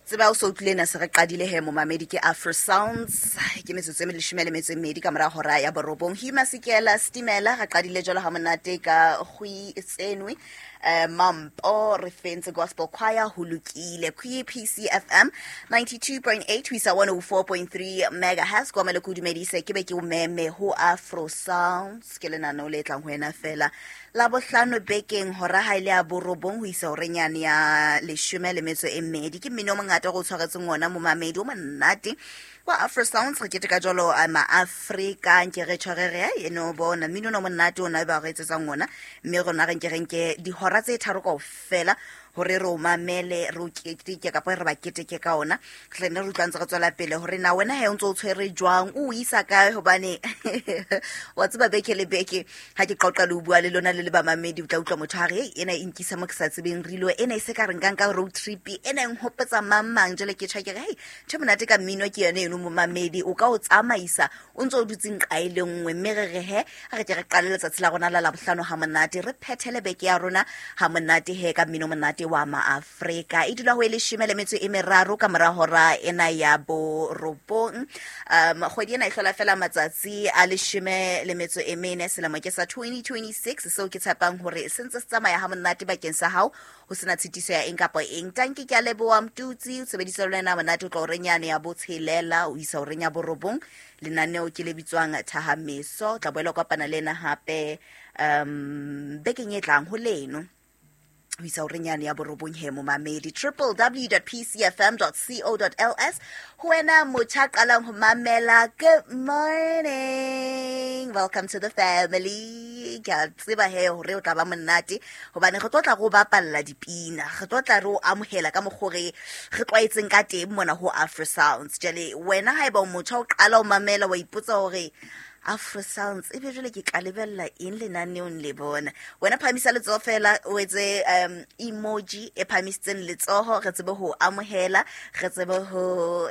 Tseba o so utlwile na se re qadile he momamedi ke Afro Sounds, ke metsotso e 12 ka mora hora ya 9. Huma Sikela Stimela re qadile jwalo ha monate ka kgwi tsenwe Mampo re fentse Gospel Choir ho lokile. PCFM 92.8 ho isa 104.3 megahertz. Kwa mele kudumedise ke be ke o meme ho Afro Sounds, ke lenaneo le tlang ho wena fela la bohlano bekeng hora ha ile ya 9 ho isa horeng yane ya 12. Ke mmino o mongata go tshwaretseng ona momamedi o monate wa Afro Sounds. Re keteka jwalo ma-Afrika nke re tshware re eno bona mmino o monate ona ba re etsetsang ona, mme rona re nke re nke dihora tse tharo kaofela hore re o mamele, re o keteke kapa re ba keteke ka ona. Re ne re utlwa ntse re tswela pele hore na wena he o ntse o tshwere jwang, o isa kae, hobane wa tseba beke le beke ha ke qoqa le o bua le lona le le bamamedi, o tla utlwa motho a re hey, ena e nkisa mo ke sa tsebeng rilo, ena e se ka re nkang ka road trip, ena e nhopotsa mang mang. Jwale ke tjho ke re hey, ntho monate ka mmino ke yone eno momamedi, o ka o tsamaisa o ntse o dutse nqa e le nngwe. Mme re re he a re ke re qale letsatsi la rona la Labohlano ha monate, re phethele beke ya rona ha monate he ka mmino monate wa maAfrika. E dula ho e 13 ka mora hora ena ya 9. Kgwedi ena e hlola fela matsatsi a 14 selemo ke sa 2026, seo ke tshepang hore se ntse se tsamaya ha monate bakeng sa hao, ho sena tshitiso ya eng kapa eng. Tanki ke a leboha Mtutsi, o sebedisa le wena monate o tla horeng yane ya 6 o isa horeng ya 9. Lenaneo ke le bitswang Thahameso, tla boela kopana le ena hape bekeng e tlang ho leno ho isa horeng yane ya 9 he momamedi. www.pcfm.co.ls ho wena motjha qalang ho mamela, good morning, welcome to the family. Ke a tseba he hore o tla ba monate hobane re tlo tla go bapalla dipina, re tlo tla re o amohela ka mokgwa re tlwaetseng ka teng mona ho Afro Sounds. Jwale wena haeba o motjha o qala ho mamela wa ipotsa hore Afro Sounds e be jwale ke ka lebella eng lenaneong le bona, wena phahamisa letsoho fela o etse emoji e phahamisitseng letsoho, re tsebe ho amohela, re tsebe ho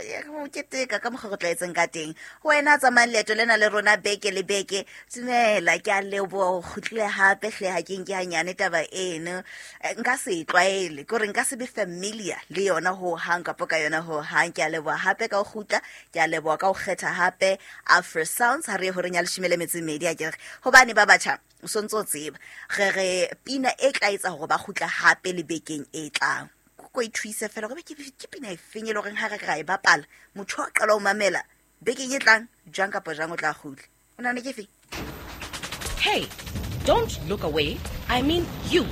keteka ka mokgwa re tlwaetseng ka teng. Wena tsamayang leeto lena le rona beke le beke, dumela ke a leboha o kgutlile hape hle, ha ke nke hanyane taba eno nka se e tlwaele, ke hore nka se be familiar le yona ho hang kapa ka yona ho hang. Ke a leboha hape ka ho kgutla, ke a leboha ka ho kgetha hape Afro Sounds ha re horeng ya 12 a kere, hobane ba batjha o sontso tseba re re pina e tla etsa hore ba kgutla hape le bekeng e tlang. Ko e thuise fela hore ke pina e feng e le horeng ha re ra e bapala motho a qala ho mamela bekeng e tlang jwang kapa jwang o tla kgutla. O nahana ke efe? Hey, don't look away. I mean you.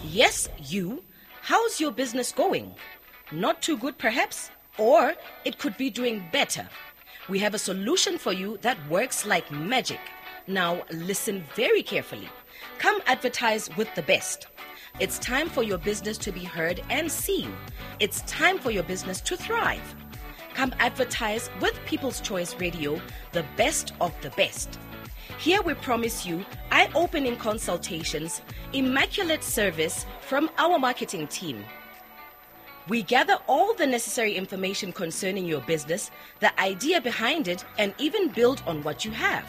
Yes, you. How's your business going? Not too good perhaps, or it could be doing better. We have a solution for you that works like magic. Now listen very carefully. Come advertise with the best. It's time for your business to be heard and seen. It's time for your business to thrive. Come advertise with People's Choice Radio, the best of the best. Here we promise you eye-opening consultations, immaculate service from our marketing team. We gather all the necessary information concerning your business, the idea behind it, and even build on what you have.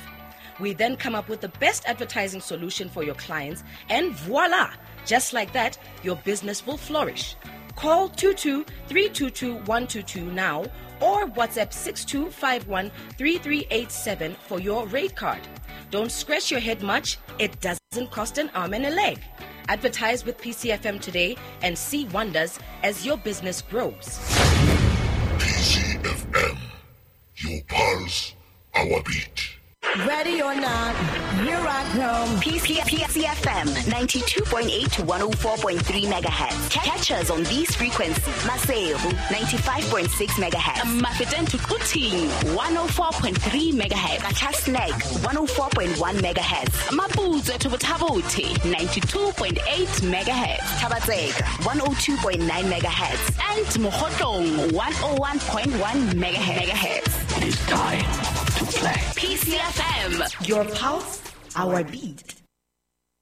We then come up with the best advertising solution for your clients, and voila! Just like that, your business will flourish. Call 22-322-122 now or WhatsApp 6251-3387 for your rate card. Don't scratch your head much. It doesn't cost an arm and a leg. Advertise with PCFM today and see wonders as your business grows. PCFM, your pulse, our beat. Ready or not, here I come. PCFM 92.8 to 104.3 megahertz. Catch us on these frequencies. Maseru 95.6 megahertz. Mafeteng to Quthing 104.3 megahertz. Qacha's Nek 104.1 megahertz. Maputswe to Botha-Bothe 92.8 megahertz. Thaba-Tseka 102.9 megahertz. And Mokhotlong 101.1 megahertz. It is time to play. PCFM. Your pulse, our beat.